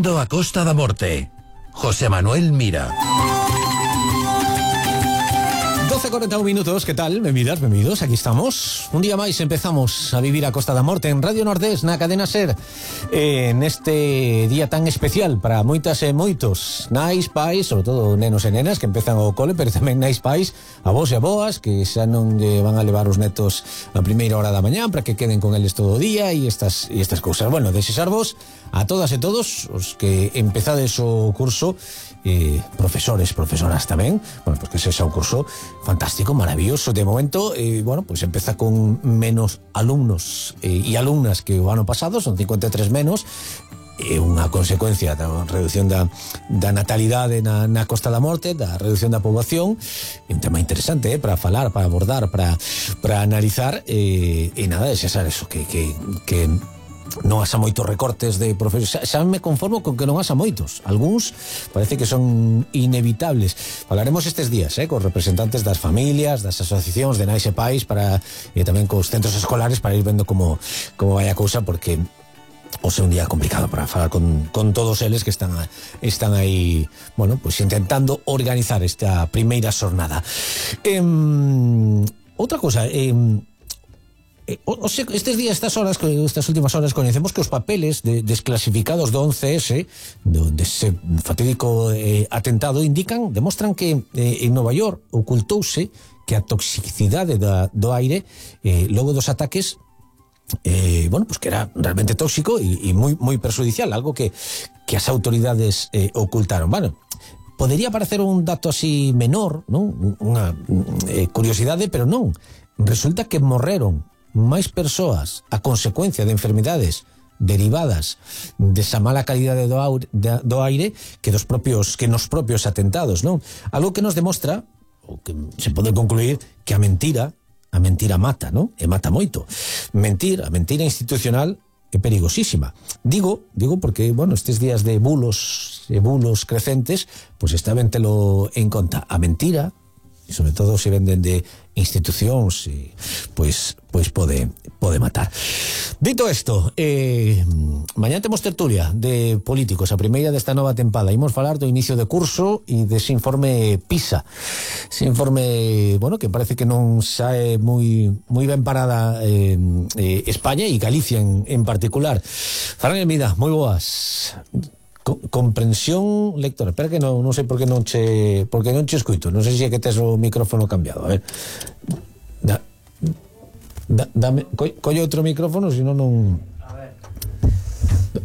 Vivindo a Costa da Morte. José Manuel Mira. 12:41 minutos, ¿qué tal? Benvidos, aquí estamos. Un día máis empezamos a vivir a Costa da Morte en Radio Nordés, na cadena SER, neste día tan especial para moitas e moitos nais, pais, sobre todo nenos e nenas que empezan o cole, pero tamén nais, pais, avós e aboas que xa non lle van a levar os netos a primeira hora da mañá para que queden con eles todo o día e estas cousas. Bueno, desexarvos a todas e todos os que empezades o curso, profesores, profesoras tamén, bueno, pues que sexa un curso fantástico, maravilloso de momento. Bueno, pues empeza con menos alumnos e alumnas que o ano pasado, son 53 menos, unha consecuencia da reducción da natalidade na Costa da Morte, da reducción da poboación. Un tema interesante para falar, para abordar, para analizar, e nada, desexar eso, que non haxa moitos recortes de profesores. Xa me conformo con que non haxa moitos. Algúns parece que son inevitables. Falaremos estes días cos representantes das familias, das asociacións de nais e pais, para tamén cos centros escolares, para ir vendo como vai a cousa, porque o sea un día complicado para falar con todos eles que están aí, bueno, pues intentando organizar esta primeira xornada. Outra cosa, estes días, estas últimas horas, coñecemos que os papeles desclasificados do 11S, dese fatídico atentado, demostran que en Nova York ocultouse que a toxicidade do aire logo dos ataques, bueno, pues que era realmente tóxico e moi perjudicial, algo que as autoridades ocultaron. Bueno, podería parecer un dato así menor, non? Unha curiosidade, pero non. Resulta que morreron máis persoas a consecuencia de enfermidades derivadas desa mala calidade do aire que nos propios atentados, non? Algo que nos demostra, ou que se pode concluir, que a mentira mata, non? E mata moito. A mentira institucional é perigosísima. Digo porque, bueno, estes días de bulos crecentes, pues está ben telo en conta. A mentira, e sobre todo se venden de institucións, pois pode matar. Dito isto, mañá temos tertulia de políticos, a primeira desta nova tempada. Imos falar do inicio de curso e dese informe PISA. Ese informe, bueno, que parece que non sae moi ben parada España e Galicia en particular. Fran Elmida, moi boas. Comprensión lectora. Espera que non sei por que non che escuito. Non sei se é que tes o micrófono cambiado. A ver. Dame, colle outro micrófono, senón non. A ver.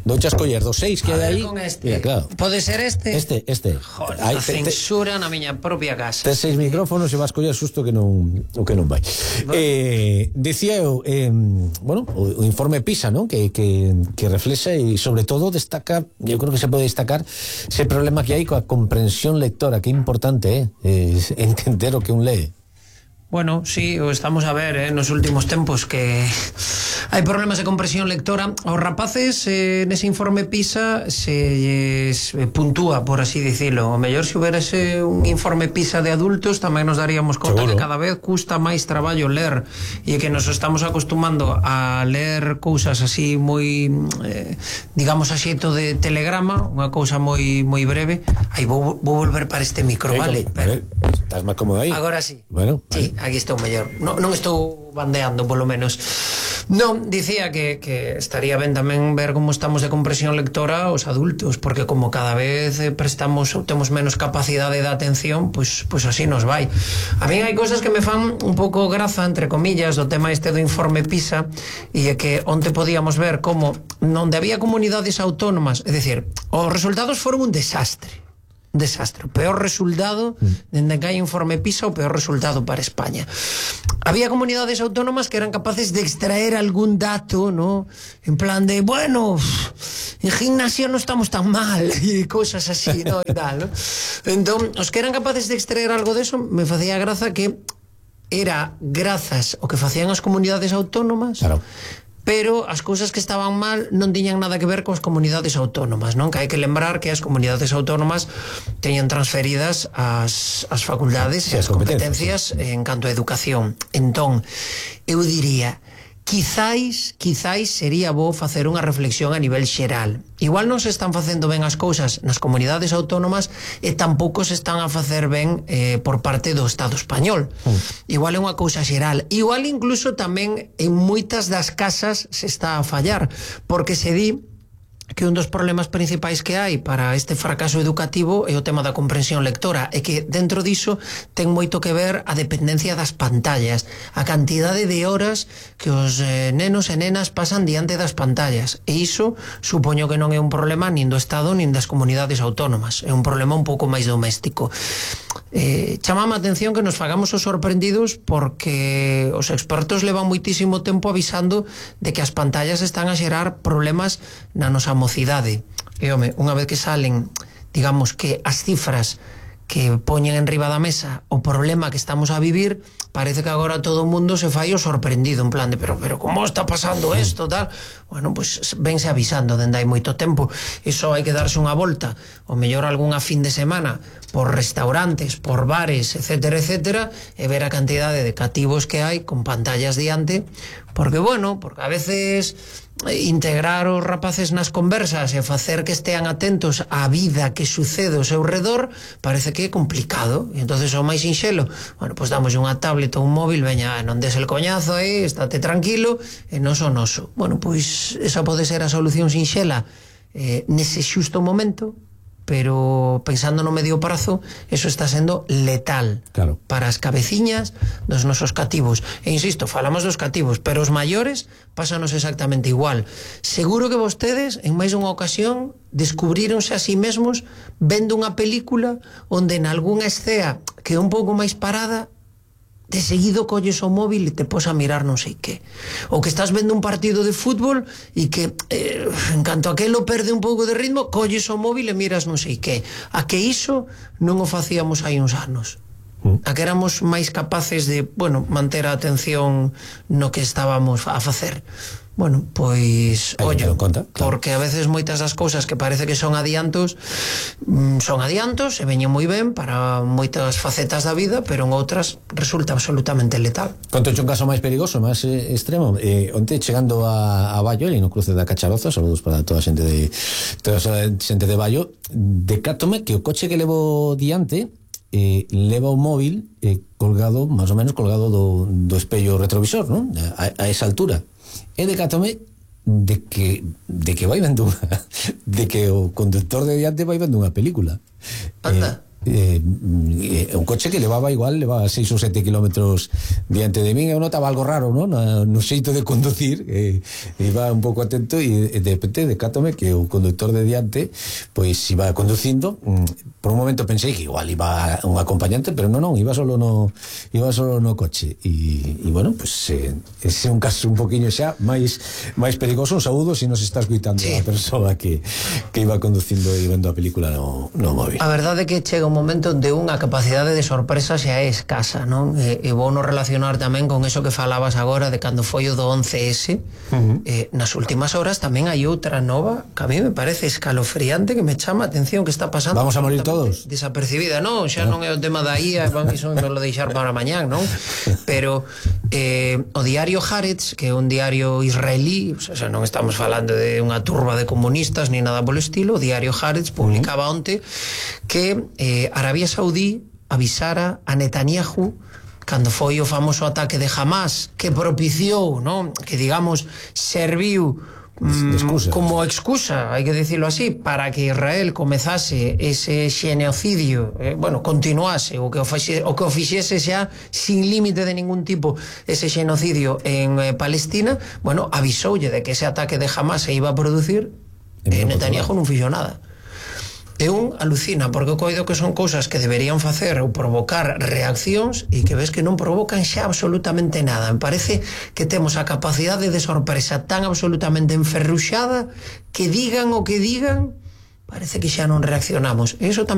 Douche a escoller dos 6 que hai aí. Con este. Mira, claro. Pode ser este? Este. Joder, a censura na miña propia casa. Tes 6 micrófonos e vas coller susto que non vai. Decía eu, bueno, o informe PISA, ¿no? Que reflexa e sobre todo destaca, eu creo que se pode destacar ese problema que hai coa comprensión lectora, que é importante, entender o que un lee. Bueno, sí, o estamos a ver nos últimos tempos que hai problemas de comprensión lectora. Os rapaces nese informe PISA se puntúa, por así dicilo. O mellor se huberase un informe PISA de adultos tamén nos daríamos conta que cada vez custa máis traballo ler e que nos estamos acostumando a ler cousas así moi digamos a xeito de telegrama, unha cousa moi breve. Aí vou volver para este micro, vale? Estás máis cómodo aí? Agora sí. Bueno, sí, aquí estou mellor. Non estou bandeando, polo menos. Non, dicía que estaría ben tamén ver como estamos de comprensión lectora os adultos, porque como cada vez temos menos capacidade de atención, pois así nos vai. A mí hai cousas que me fan un pouco graza, entre comillas, do tema este do informe PISA, e é que onte podíamos ver como onde había comunidades autónomas, é dicir, os resultados foron un desastre. O peor resultado dende que hai informe PISA, o peor resultado para España. Había comunidades autónomas que eran capaces de extraer algún dato, ¿no? En plan de, bueno, en gimnasia non estamos tan mal e cosas así, ¿no? E tal, ¿no? Entón, os que eran capaces de extraer algo de eso, me facía graza que era grazas o que facían as comunidades autónomas. Claro. Pero as cousas que estaban mal non tiñan nada que ver coas comunidades autónomas, non? Que hai que lembrar que as comunidades autónomas teñen transferidas as facultades e as competencias en canto a educación. Entón, eu diría quizáis sería bo facer unha reflexión a nivel xeral. Igual non se están facendo ben as cousas nas comunidades autónomas e tampouco se están a facer ben por parte do Estado español. Igual é unha cousa xeral. Igual incluso tamén en moitas das casas se está a fallar, porque se di que un dos problemas principais que hai para este fracaso educativo é o tema da comprensión lectora, e que dentro diso ten moito que ver a dependencia das pantallas, a cantidade de horas que os nenos e nenas pasan diante das pantallas, e iso supoño que non é un problema nin do Estado nin das comunidades autónomas, é un problema un pouco máis doméstico. Chamame a atención que nos fagamos os sorprendidos porque os expertos levan moitísimo tempo avisando de que as pantallas están a xerar problemas na nosa mocidade. E, home, unha vez que salen, digamos que as cifras que poñen en riba da mesa o problema que estamos a vivir, parece que agora todo o mundo se fai o sorprendido, en plan de, pero como está pasando isto, tal? Bueno, pues vense avisando dende hai moito tempo. Iso hai que darse unha volta, o mellor algunha fin de semana, por restaurantes, por bares, etcétera, etcétera, e ver a cantidade de cativos que hai con pantallas diante, porque, bueno, porque a veces integrar os rapaces nas conversas e facer que estean atentos á vida que sucede ao seu redor parece que é complicado, e entonces o máis sinxelo, bueno, pois damos unha tablet ou un móvil, veña, non des el coñazo aí, estate tranquilo, e non son noso. Bueno, pois esa pode ser a solución sinxela nese xusto momento, pero pensando no medio prazo, eso está sendo letal, claro, para as cabeciñas dos nosos cativos. E insisto, falamos dos cativos, pero os maiores pásanos exactamente igual. Seguro que vostedes en máis unha ocasión descubríronse a sí mesmos vendo unha película onde en algunha escena que é un pouco máis parada, de seguido colles o móvil e te pos a mirar non sei que. Ou que estás vendo un partido de fútbol e que en canto aquelo perde un pouco de ritmo, colles o móvil e miras non sei que. A que iso non o facíamos hai uns anos. A que éramos máis capaces de, bueno, manter a atención no que estábamos a facer. Bueno, pois, ollo, conta, claro, porque a veces moitas das cousas que parece que son adiantos e veñen moi ben para moitas facetas da vida, pero en outras resulta absolutamente letal. Conto un caso máis perigoso, máis extremo. Onte chegando a Baio, e no cruce da Cacharoza, saludos para toda a xente de Baio, decátome que o coche que levo diante leva o móvil colgado, máis ou menos colgado do espello retrovisor, non? A esa altura. E decátome de que vai vendo de que o conductor de diante vai vendo unha película. Anda. Un coche que levaba 6 ou 7 kilómetros diante de min. Eu notaba algo raro, ¿no? No xeito de conducir, iba un pouco atento e de repente decátome que o conductor de diante pois iba conducindo. Por un momento pensei que igual iba un acompañante, pero non, iba solo no coche. E bueno, pues ese é un caso un poquinho xa máis perigoso. Un saúdo se nos está escuitando, sí, a persoa que iba conducindo e vendo a película no móvil. A verdade é que chega un momento onde unha capacidade de sorpresa xa é escasa, non? E vou non relacionar tamén con eso que falabas agora de cando foi o do 11S. Nas últimas horas tamén hai outra nova que a mí me parece escalofriante, que me chama a atención, que está pasando. Vamos a morir todos desapercibida, non? Xa non é o tema da IA, iso me lo deixar para mañán, non? Pero o diario Haaretz, que é un diario israelí, o sea, non estamos falando de unha turba de comunistas ni nada polo estilo, o diario Haaretz publicaba onte que Arabia Saudí avisara a Netanyahu cando foi o famoso ataque de Hamas, que propiciou, non? Que, digamos, serviu como excusa, hai que dicilo así, para que Israel comezase ese xenocidio, continuase o que o fixese xa sin límite de ningún tipo ese xenocidio en Palestina. Bueno, avisoulle de que ese ataque de Hamas se iba a producir e Netanyahu non fixo nada. E un alucina, porque coido que son cousas que deberían facer ou provocar reaccións e que ves que non provocan xa absolutamente nada. Me parece que temos a capacidade de sorpresa tan absolutamente enferruxada que digan o que digan, parece que xa non reaccionamos. E iso tamén